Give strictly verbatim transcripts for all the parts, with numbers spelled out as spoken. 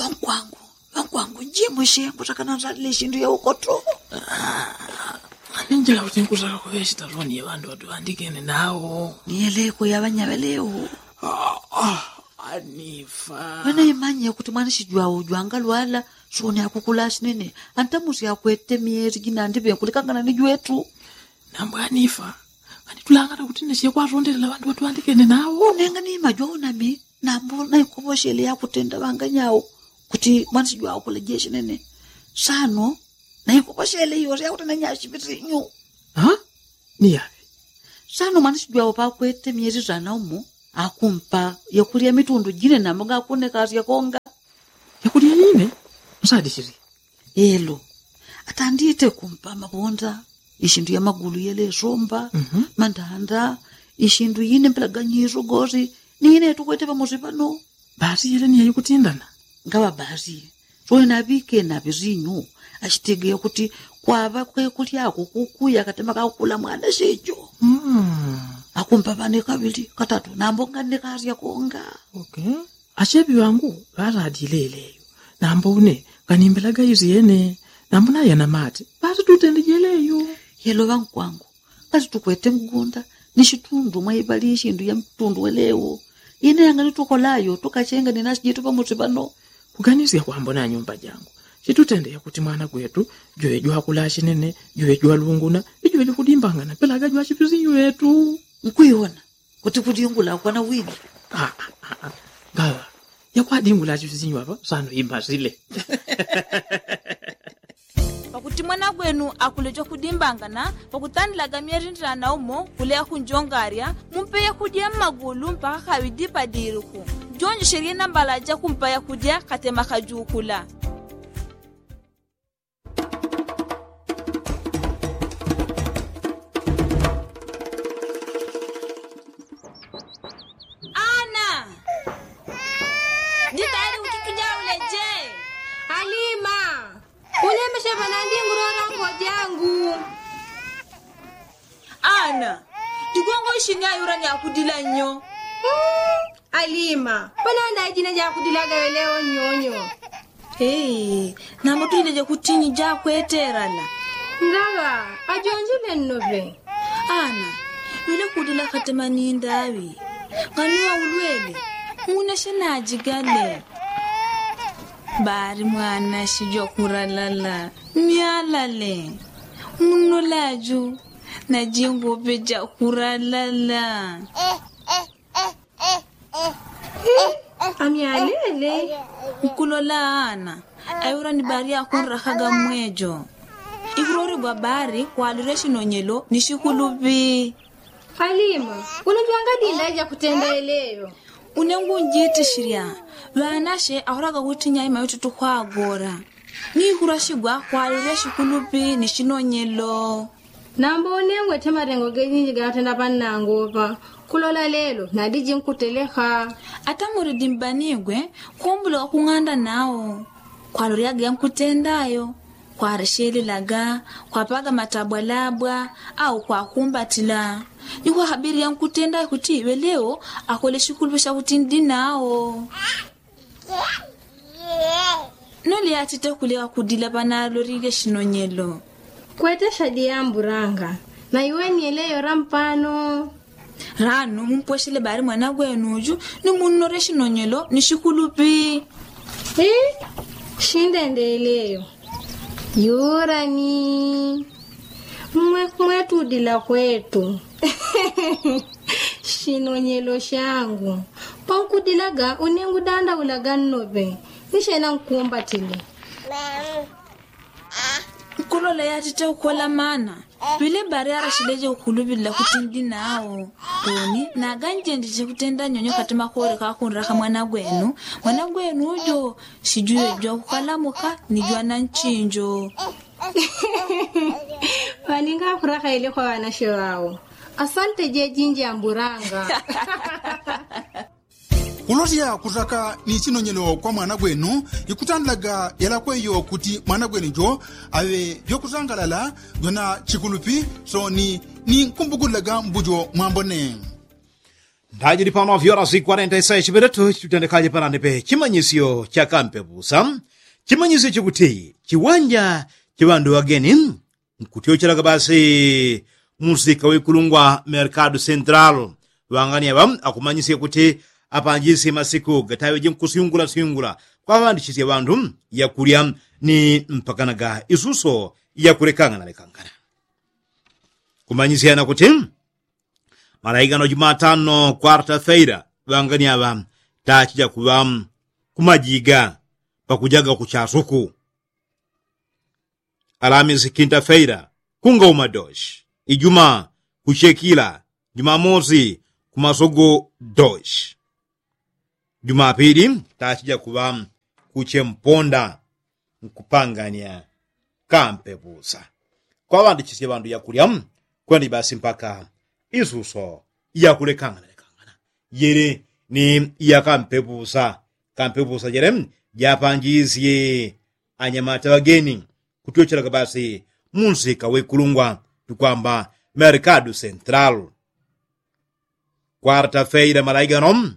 Ŵankwangu, ŵankwangu, njimushe kutakana nzalile shindu ya ukoto. Aninjila kuti nkutaka kuŵe shitaloni ya ŵandu ŵatuŵandikene nawo. Niyeleko ya ŵanyaŵelewo. Anifa. Ŵanaimanye kuti mwanishijwawo jwangalwala, soni akukula shinene. Antamusi akwete myeli jinandiŵe nkulikangana ni jwetu. Nambo anifa. Nganitulangana kuti neshe kwatondelela ŵandu ŵatuŵandikene nawo. Nenga ni majwawo nami. Nambo naikoposhele yakutenda ŵanganyawo kuti mwanishijwawo kulejeshe nene. Sano naikoposhele iyo yakutenda nyashipitinyu. Ni yaŵe? Sano mwanishijwawo pakwete myeli sana umo akumpa yakulya mitundu jine nambo ngakunekasya konga. Yakulya yine? Msadishili. Elo. Atandite kumpa mabonda, ishindu ya magulu yele somba, mandanda, ishindu yine mpelaganyiso gosi. Ni yine tukwete pamosi pano. Basi yele ni yayikutindana. Ngaŵa basi. Soni naŵike naŵizinyu. Ashitegeya kuti kwaŵa kwekulyako kukuya katema kakukula mwana shejo. Akumpa ŵane kaŵili katatu nambo nganekasya konga. Asheŵi ŵangu ŵaladile yeleyo. Nambo une nganimbelaga izi yene. Nambo nayana mate basi tutende jeleyo. Yelo ŵankwangu, kasi tukwete mgunda ni shitundu mwaiŵali ishindu ya mtundu welewo. Ine yanganitukolayo tukachenga ni nasi jitu pamosi pano. Kuganisya kwambo na nyumba jangu. Chitutende yakuti mwana gwetu juŵe jwakula shinene, juŵe jwalunguna, ni juŵe jukudimbangana pelaga jwachipizinyu ŵetu. Nkwiwona kuti kudingula kwana wili. Ngaŵa yakwadingula achipizinyu apa sano imasile. Pakuti mwana gwenu akuleja kudimbangana pakutandilaga myerindila na umo kuleya kunjongarya, mumpe yakudya mmagulu mpaka kaŵidi padiriku. Jonjeshelye nambala jakumpa yakudya katema kajukula. Ana, nditayali kuti tujaule je? Alima. Ulemeshe panandi ngulora ngojangu. Ana, jigongo ishini ayura ni akudila nyo. Alima, panandi aijine jakudilaga yelewo nyonyo. Nambo tujileje kutinyi jakweterana. Ngaŵa ajonjile nnoŵe. Ana, yule kudila katema ni ndaŵi. Nganuwa ulwele. Muna shenajigale. Bari mwana shijwa kuralala. Myalale. Muno laju najingope jakuralala. Amyalele. Nkulola ana. Ayura ni bari akunrakaga mwejo. Ikuloregwa bari kwalire shinonyelo ni shikulupi. Alima, uno jwangadinda jakutenda yeleyo. Une ngunjitishilya. Ŵanashe ahulaga kuti nyaima yotutu kwagora. Ni ikulwa shigwa kwalile shikulupi ni shinonyelo. Nambo une ngwete malengo gejinji gatenda pannango pa kulola lelo nadiji nkuteleka. Ata mulidi mbanigwe kumbula wakung'anda nao. Kwalolya genkutenda ayo. Kwareshelelaga, kwapaga matabwalabwa, au kwakumbatila. Ni kwahabili yankutenda kuti iŵe leo akole shikulupi shakuti ndi nao. Noli atite kuleka kudila panalolile shinonyelo. Kwete shadi yamburanga. Na iweni yeleyo rampano. Rano mumpweshele bali mwana gwenuju ni munnole shinonyelo ni shikulupi. Shindendeleyo. Yurani. Mwe mwetudila kwetu. Shinonyelo shangu. Pankudilaga unengudandaulaga nnope. Nishena nkumbatile. Nkulola yatite ukola mana. Pile bari arashileje ukulubilila kuti ndi nao. Toni naganjenjeje kutenda nyonyo kati makole kakunraka mwana gwenu. Mwana gwenu ujo shijuyo jwa kukalamuka ni jwa na nchinjo. Waninga akuraka ile kwa wanashe wao. Asante jejinji amburanga. Kulosya kusaka ni chinonyelo kwa mwana gwenu. Ikutandilaga yalakweyo kuti mwana gwenu jo awe jwakusangalala jwa na chikulupi. Soni ni nkumbukulilaga mbujo mwambone. Ndajili pano vyora si kwarenta isai chipeteto chitutendekaje panandipe chimanyisyo cha kampepusa. Chimanyisyo chikuti chiwanja cha ŵandu ŵageni nkutyochelaga basi musika wikulungwa merkado central. Ŵangani aŵa akumanyisya kuti apanjisye masiku gataŵeje nkusyungula syungula kwaŵandichisya ŵandu yakulya ni mpakanaga isuso yakulekangana lekangana. Kumanyisyana kuti malaigano jumatano kwarta feira ŵangani aŵa tachija kuŵa kumajiga pakujaga kuchasuku. Alamisi kinta feira kungauma doshi. Ijuma kuchekila. Jumamosi kumasogo doshi. Jumapili tachija kuŵa kuchemponda nkupangania kampepusa. Kwaŵandichisye ŵandu yakulya kwenda ibasi mpaka isuso yakulekangana lekangana. Yele ni yakampepusa. Kampepusa jele japanjisye anyamata ŵageni kutyochelaga basi munsika wikulungwa tukwamba merkado central. Kwarta feira malaigano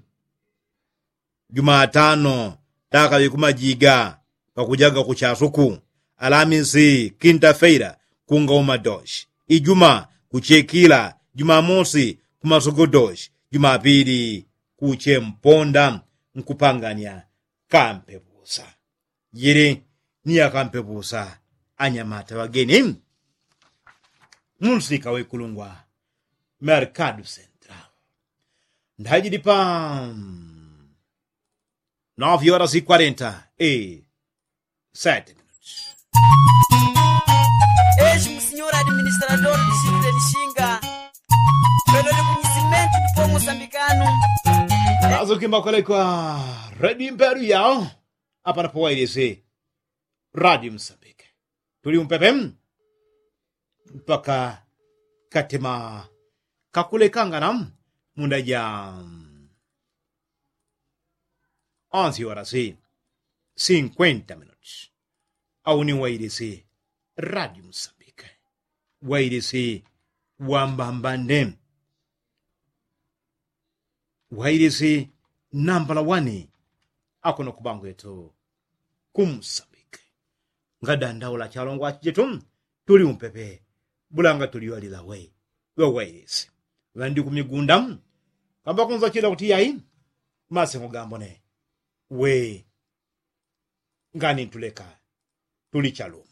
jumatano takaŵe kumajiga pakujaga kuchasuku. Alamisi kinta feira kungauma doshi. Ijuma kuchekila. Jumamosi kumasogo doshi. Jumapili kuchemponda nkupangania kampepusa. Jili ni yakampepusa anyamata ŵageni munsika wikulungwa merkado central. Ndajili pa nove horas e quarenta e sete minutos. Eji musinyor administrador distrito de lishinga pelo de kunyisimentu tupo mosambikanu. Azukimba kwelekwa redi mperu yao. Apanapo wailisi radio msambike tuli umpepe mpaka katima kakulekangana munda ja onzi orasi sinkwenta minuti. Auni wailisi radio msambike wailisi wambambande wailisi nambala wani. Akuno kubangwetu kumsambike ngadandaula chalongwa chijetu tuli umpepe bulanga tuliwalila we. Ŵawailisi ŵandi kumigunda kamba kunza chila kuti yai masengo gambone we ngani ntuleka tuli chalumo.